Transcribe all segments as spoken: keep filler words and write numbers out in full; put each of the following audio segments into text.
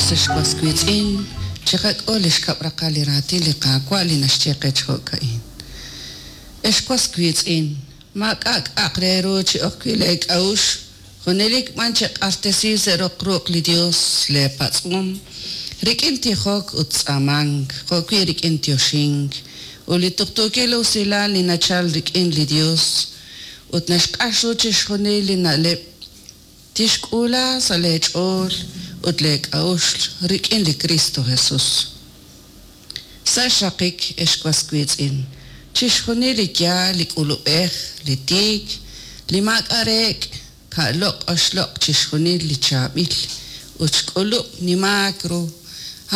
Dios, ex was wiitz'in, chiqak'ul li xkab' raqal li raatin li Qaawa' li naxye qe chi jo'ka'in. Ex was wiitz'in, maak'a' k'a'aq re ru chi ok wi' lee k'a'uxl, junelik b'an cheq'axtesi sa' roq ruq' li Dios lee patz'om, rik'in tijok ut tz'aamank, jo'wi' rik'in yoxink, ut li tuqtuukil usilal li nachal rik'in li Dios ut naxq'ax ru chixjunil li na'leb' tixk'uula sa' lee ch'ool ut lee k'a'uxl rik'in li Kristo Jesus. Sa' xraqik, ex was wiitz'in, chixjunil li yaal, li k'ulub'ej, li tiik, li maak'a' reek', ka'loq' oxloq' chixjunil li chaab'il ut xk'ulub' nimaak ru,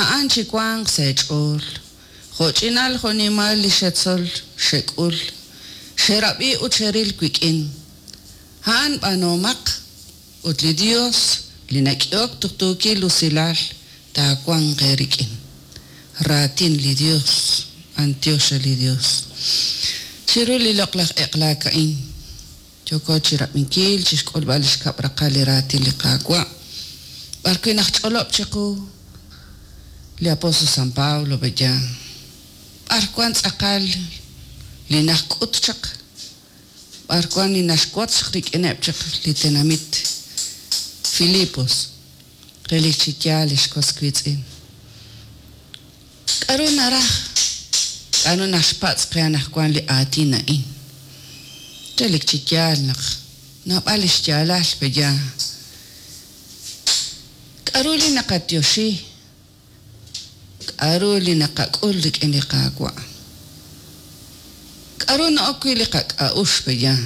a'an chiwanq sa' eech'ool. Jo'ch'inal jo'nimal li xetzol, xek'ul, xerab'i ut xeril wik'in, a'an b'aanuhomaq, ut li Dios li nak'ehok tuqtuukil usilal taawanq eerik'in. Raatin li Dios, b'antiox re li Dios. Chiru li loq'laj eq'laak a'in, yooko chirab'inkil, chixk'ulb'al li xkab' raqal li raatin li Qaawa', b'ar wi' najch'olob' chiqu li apóstol San Pablo b'eya, b'ar wan tz'aqal li najk'ut chaq, b'ar wan li naxwotz chaq rik'ineb' chaq li tenamit Filipos, relik chi yaal ex was wiitz'in. K'a'ru naraj, k'a'ru naxpatz' qe anaqwan li aatin a'in. Relik chi yaal naq naab'al li xyaalal b'eya. K'a'ru li naqatyoxi, k'a'ru li naqak'ul rik'in li Qaawa'. K'a'ru na'ok wi' li qak'a'uxl b'eya.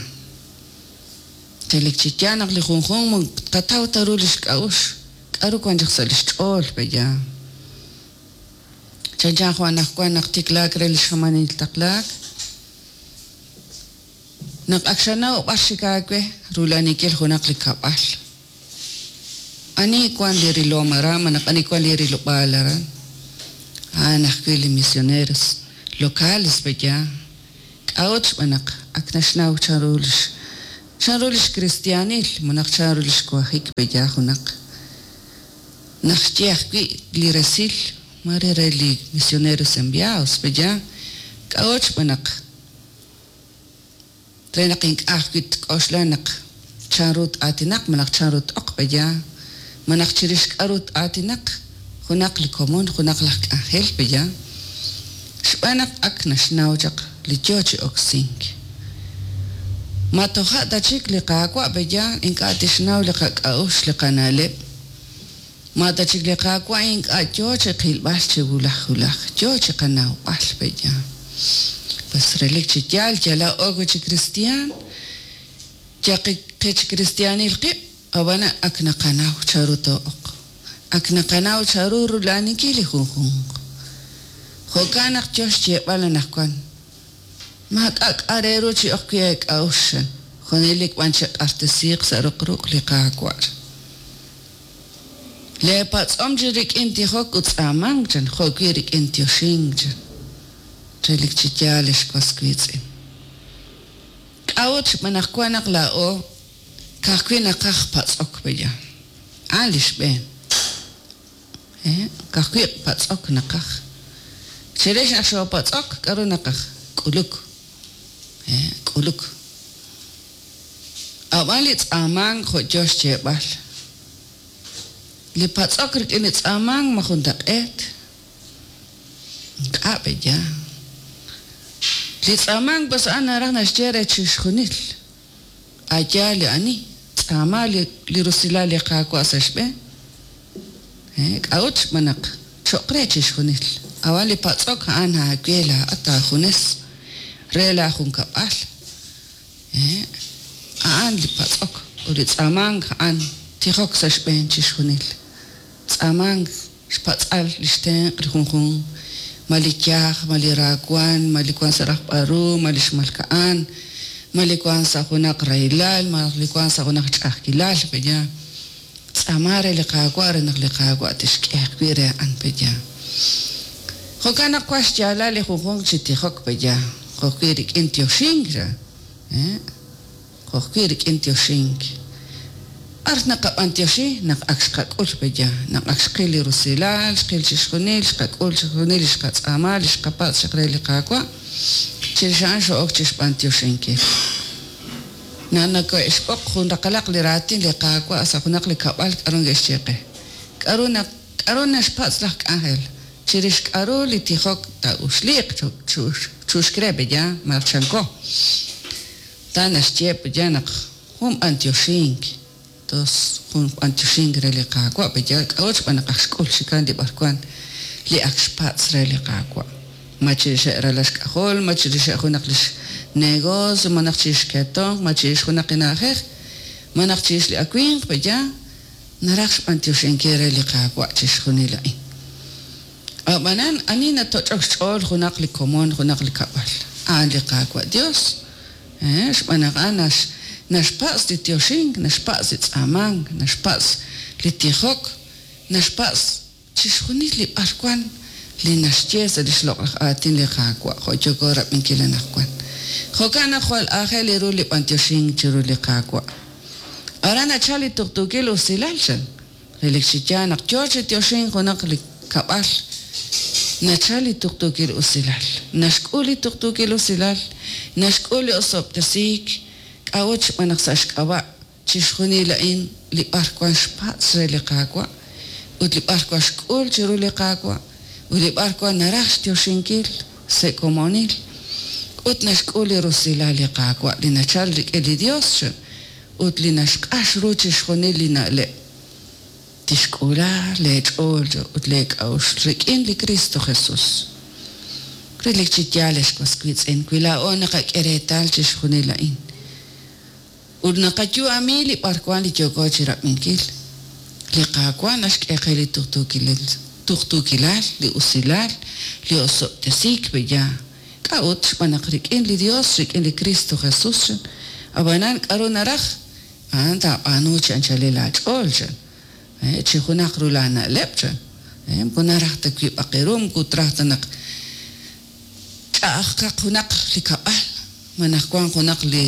Relik chi yaal naq li junjunq tqataw ta ru li xk'a'uxl, k'a'ru wan chaq sa' li xch'ool b'eya. Chanchan jo' anaqwan naq tiklaak re li xjamanil taqlaak, naq ak xanaw b'ar xik aawe rula'aninkil junaq li kab'al. Ani wan li rilom aran, malaj ani wan li rilob'aal aran. A'an ajwi' li misioneros locales b'eya. K'a'ut xb'aan naq ak naxnaw chanru lix chanru lix cristianil, malaj chanru lix wajik b'eya junaq. Naxye ajwi' li resil mare re li misioneros enviados b'eya. K'a'ut xb'aan naq re naq ink'a' ajwi' tk'oxla naq chanru t-aatinaq malaj chanru t-oq b'eya, malaj chirix k'a'ru t-aatinaq junaq li komon, junaq laj k'anjel b'eya. Xb'aan naq ak naxnaw chaq li yoo chi oksink. Ma toja' ta chik li Qaawa' b'eya ink'a' tixnaw li qak'a'uxl li qana'leb'. Ma ta chik li Qaawa' ink'a' yoo chi qilb'al chi wulaj wulaj, yoo chi qanawb'al b'eya. Pues relik chi yaal yala ok chi cristian, yaqi qech cristianil qib', ab'an ak naqanaw chanru too'oq. Ak naqanaw chanru rula'aninkil li junjunq. Jo'kan naq yoo xyeeb'al anaqwan, maak'a' k'a' re ru chi ok wi' eek'a'uxl, junelik b'an cheq'axtesiiq sa' roq ruq' li Qaawa'. Lee patz'om chi rik'in tijok ut tz'aamank chan, jo'wi' rik'in tioxink chan. Relik chi yaal ex was wiitz'in. K'a'ut xb'aan naq wan naq laa'o ka'ajwi' naqaj patz'ok b'eya. A'an li xb'een. Eh, ka'ajwi' patz'ok naqaj. Chirix naq xoopatz'ok, k'a'ru naqaj? K'uluk. Eh, k'uluk. Ab'an li tz'aamank jo' yoo xyeeb'al. Li patz'ok rik'in li tz'aamank ma juntaq'eet. Ink'a' b'eya. Li tz'aamank pues a'an naraj naxye re chixjunil. Aya li ani, tz'aama li, li rusilal li Qaawa' sa' xb'een. Eh, k'a'ut xb'aan naq cho'q re chixjunil. Ab'an li patz'ok a'an aawe laa'at aajunes re laajunkab'al. Eh, a'an li patz'ok ut li tz'aamank a'an tijok sa' xb'een chixjunil. Tz'aamank xpatz'al li xtenq' li junjunq, ma li yaj, ma li raawan, ma li wan sa' rajb'al ru, ma li xmalka'an, ma li wan sa' junaq rahilal, ma li wan sa' junaq ch'a'ajkilal b'eya. Tz'aama re li Qaawa' re naq li Qaawa' tixk'e ajwi' re a'an b'eya. Jo'kan naq wan xyaalal li junjunq chi tijok b'eya, jo'wi' rik'in tioxink ra. Eh, jo'wi' rik'in tioxink. B'ar naqab'antioxi naq ak xqak'ul peya, naq ak xqil li rusilal, xqil chixjunil, xqak'ul chixjunil li xqatz'aama, li xqapatz' chaq re li Qaawa', chirix a'an xo'ok chixb'antioxinkil. Naq nake'xb'oq jun raqalaq li raatin li Qaawa' sa' junaq li kab'al k'aru neke'xye qe. K'aru naq k'aru naxpatz' laj k'anjel chirix k'aru li tijok taa'uxliiq chuxk re peya malaj chanko. Ta naxye peya naq jun b'antioxink, tos jun b'antioxink re li Qaawa' peya k'a'ut xb'aan naq aj xk'ul chikan li b'arwan li ak xpatz' re li Qaawa'. Ma chirixeb' ralal xk'ajol, ma chirixeb' junaq lix negocio, ma naq chirix xketomq, ma chirix junaq li na'ajej, ma naq chirix li awimq peya, naraj xb'antioxinkil re li Qaawa' chixjunil a'in. Ab'anan ani natoch'ok xch'ool junaq li komon, junaq li kab'al, a'an li Qaawa' Dios. Eh, xb'aan naq a'an nax naxpatz' li tioxink, naxpatz' li tz'aamank, naxpatz' li tijok, naxpatz' chixjunil li b'arwan li naxye sa' lix loq'laj aatin li Qaawa' jo' yooko rab'inkil anaqwan. Jo'kan naq jwal aajel ru li b'antioxink chiru li Qaawa'. Aran nachal li tuqtuukil usilal chan. Relik chi yaal naq yoo chi tioxink junaq li kab'al, nachal li tuqtuukil usilal. Naxk'ul li tuqtuukil usilal, naxk'ul li osob'tesiik, k'a'ut xb'aan naq sa' xk'ab'a' chixjunil a'in li b'arwan xpatz' re li Qaawa' ut li b'arwan xk'ul chiru li Qaawa' ut li b'arwan naraj xtioxinkil sa' komonil ut naxk'ul li rusilal li Qaawa' li nachal rik'in li Dios chan ut li naxq'ax ru chixjunil li na'leb'. Tixk'uula leech'ool ut leek'a'uxl rik'in li Cristo Jesús. Relik chi yaal ex was wiitz'in, wi laa'o naqak'e reetal chixjunil a'in. Ut naqayu'ami li b'arwan li yooko chirab'inkil. Li Qaawa' naxk'e qe li tuqtuukilal, tuqtuukilal, li usilal, li osob'tesiik peya. K'a'ut xb'aan naq rik'in li Dios, rik'in li Cristo Jesús chan. Ab'anan k'aru naraj? A'an taab'aanu chi anchalil aach'ool chan. Eh, chi junaq ru laana'leb' chan. Eh, moko naraj ta wiib'aq eeru, moko traj ta naq ch'a'ajkaq junaq li kab'al, malaj wanq junaq li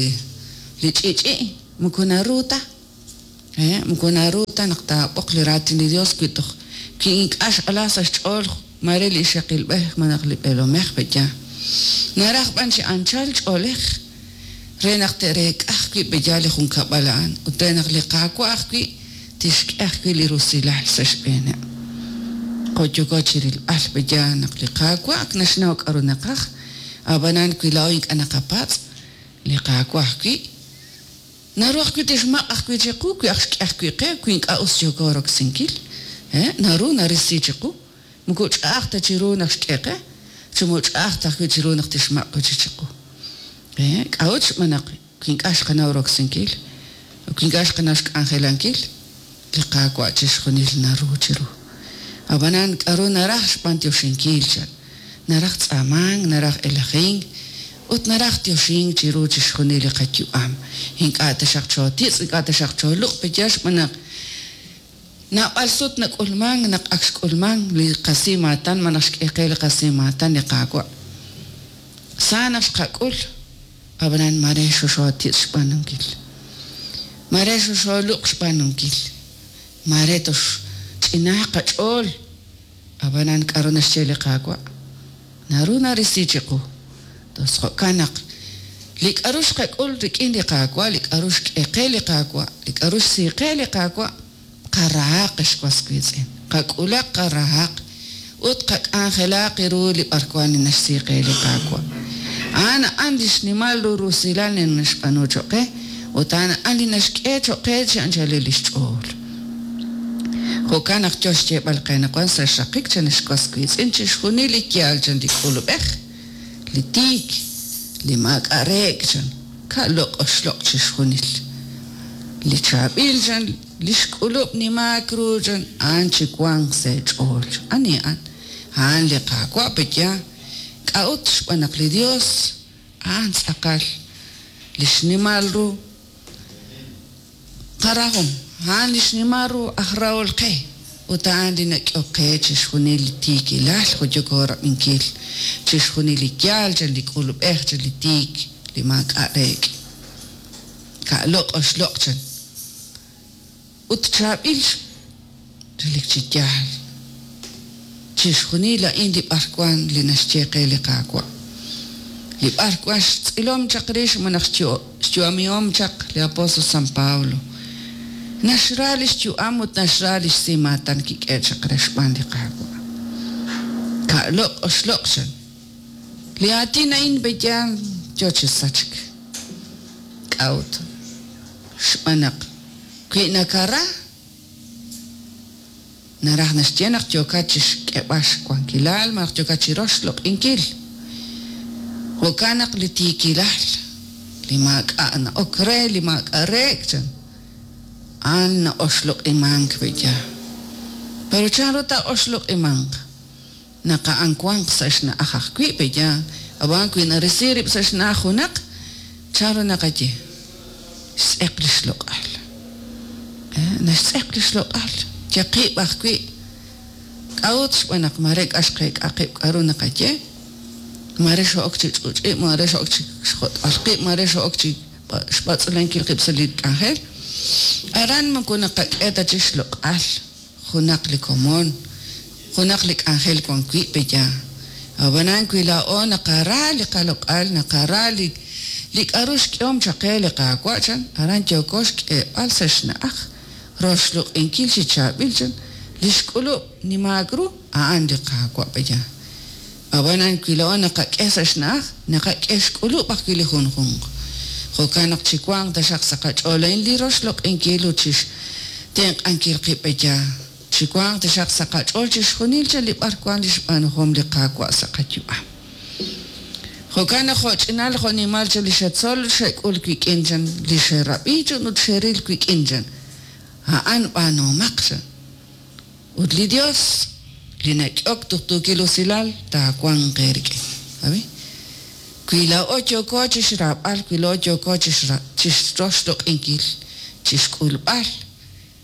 li ch'i'ch'i', moko naru ta. Eh, moko naru ta naq taab'oq li raatin li Dios wi toj wi ink'a' x'ala sa' xch'ool mare li ixaqilb'ej malaj li b'eelomej peya. Naraj b'an chi anchal ch'oolej re naq te'reek'a ajwi' peya li junkab'al a'an ut re naq li Qaawa' ajwi' tixk'e ajwi' li rusilal sa' xb'eeneb'. Jo' yooko chirilb'al peya naq li Qaawa' ak naxnaw k'aru naqaj, ab'anan wi laa'o ink'a' naqapatz', li Qaawa' ajwi' naru ajwi' tixmaq' ajwi' chiqu wi aj xk'e ajwi' qe wi ink'a' us yooko roksinkil. Eh, naru narisi chiqu. Moko ch'a'aj ta chiru naq xk'e qe, chi moko ch'a'aj ta ajwi' chiru naq tixmaq' wi' chiqu. Eh, k'a'ut xb'aan naq wi ink'a' xqanaw roksinkil, wi ink'a' xqanaw xk'anjelankil, li Qaawa' chixjunil naru chiru. Ab'anan k'aru naraj xb'antioxinkil chan. Naraj tz'aamank, naraj elajink, ut naraj tioxink chiru chixjunil li qayu'am. Ink'a' taxaq chootitz', ink'a' taxaq chooluq' peya xb'aan naq naab'al sut nak'ulmank naq ak xk'ulmank li qasimaatan malaj xk'e qe li qasimaatan li Qaawa'. Sa naq xqak'ul, ab'anan mare xoxootitz' xb'aanunkil. Mare xoxooluq' xb'aanunkil. Mare tox ch'inaaq qach'ool, ab'anan k'aru naxye li Qaawa'? Naru narisi chiqu. Tos jo'kan naq li k'aru xqak'ul rik'in li Qaawa', li k'aru xk'e qe li Qaawa', li k'aru xsi qe li Qaawa', qarahaq ex was wiitz'in. Qak'ulaq qarahaq ut qak'anjelaq ru li b'arwan li naxsi qe li Qaawa'. A'an a'an li xnimal ru rusilal li naxb'aanu choq' qe ut a'an a'an li naxk'e choq' qe chi anchalil lix ch'ool. Jo'kan naq yo xyeeb'al qe naq wan sa' xraqik chan ex was wiitz'in chixjunil li yaal chan li k'ulub'ej, li tiik, li maak'a' reek' chan, ka'loq' oxloq' chixjunil. Li chaab'il chan, li xk'ulub' nimaak ru chan, a'an chiwanq sa' eech'ool. Ani a'an? A'an li Qaawa' peya. K'a'ut xb'aan naq li Dios a'an tz'aqal li xnimal ru qarahom, a'an li xnimal ru aj rahol qe ut a'an li nak'ehok qe chixjunil li tiikilal jo' yooko rab'inkil, chixjunil li yaal chan li k'ulub'ej chan li tiik, li maak'a' reek'. Ka'loq' oxloq' chan. ut chaab'il relik chi yaal. Chixjunil a'in li b'arwan li naxye qe li Qaawa'. Li b'arwan xtz'ilom chaq rix malaj xyu'amihom chaq li apóstol San Pablo. Naxra li xyu'am ut naxra li xsimaatan kik'e chaq re xb'aan li Qaawa'. Ka'loq' oxloq' chan. Li aatin a'in b'eyal yo chi sachk. K'a'ut. Xb'aan naq wi nakara naraj naxye naq yookat chi xk'eb'al xwankilal malaj yookat chi roxloq'inkil. Jo'kan naq li tiikilal li maak'a' na'ok re li maak'a' reek' chan a'an na'oxloq'imank b'eya. Pero chanru taa'oxloq'imanq naq a'an wanq sa' xna'aj ajwi' b'eya ab'an wi narisi rib' sa' xna'aj junaq chanru naqaye xtz'eq li xloq'al. Naxtz'eq li xloq'al yaqib' ajwi' k'a'ut xb'aan naq mare k'a xqeek'a qib' k'aru naqaye mare xo'ok chi ch'uch'ib' mare xo'ok chi xjot'b'al qib' mare xo'ok chi xb'atz'ulenkil qib' sa' li k'anjel aran moko naqak'e ta chi xloq'al junaq li komon junaq li k'anjel wan wi' peya ab'anan wi laa'o naqara li qaloq'al naqara li li k'aru xk'ehom chaq qe li Qaawa' chan aran yooko xk'eeb'al sa' xna'aj roxloq'inkil chi chaab'il chan li xk'ulub' nimaak ru a'an li Qaawa' peya. Ab'anan wi laa'o naqak'e sa' xna'aj naqak'e xk'ulub' ajwi' li junjunq. Jo'kan naq chiwanq taxaq sa' qach'ool a'in li roxloq'inkil ut chixtenq'ankil qib' peya. Chiwanq taxaq sa' qach'ool chixjunil chan li b'arwan li xb'aanuhom li Qaawa' sa' qayu'am. Jo'kan naq jo'ch'inal jo'nimal chan li xetzol xek'ul wik'in chan li xerab'i chan ut xeril wik'in chan a'an b'aanumaq chan. Ut li Dios li nak'ok tuqtuukil usilal taawanq eerik'in. Abi? Wi laa'o yooko chi xraab'al wi laa'o yooko chi xroxloq'inkil chi xk'ulb'al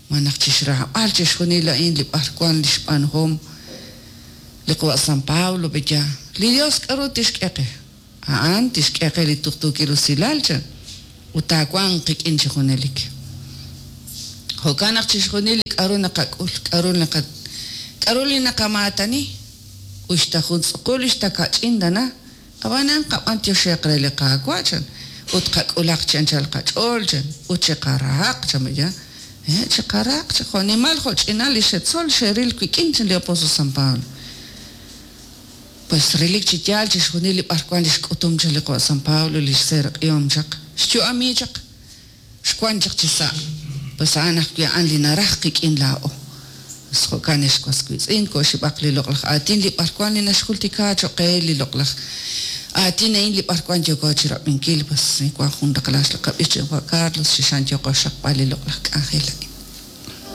malaj chi xraab'al chixjunil a'in li b'arwan li xb'aanuhom li qawa' San Pablo peya li Dios k'aru tixk'e qe a'an tixk'e qe li tuqtuukil usilal chan ut taawanq qik'in chi junelik. Jo'kan naq chixjunil li k'aru naqak'ul k'aru naqa k'aru li naqamaatani uxta jun tz'uqul uxta kach'in tana ab'anan qab'antioxeq re li Qaawa' chan ut qak'ulaq chi anchal qach'ool chan ut chiqarahaq chan peya chiqarahaq chi jo'nimal jo'ch'inal li xetzol xeril wik'in chan li apóstol San Pablo. Pues relik chi yaal chixjunil li b'arwan li xk'utum chan li qawa' San Pablo li xseeraq'ihom chaq xyu'ami chaq xwan chaq chi sa' pues a'an ajwi' a'an li naraj qik'in laa'o. Pues jo'kan ex was wiitz'in ko'xib'aq li loq'laj aatin li b'arwan li naxjultika cho'q qe li loq'laj aatin a'in li b'arwan yooko chi rab'inkil pues wan jun raqlax li qab'ix chi qawa' Carlos xixan yooko xaqb'al li loq'laj k'anjel a'in.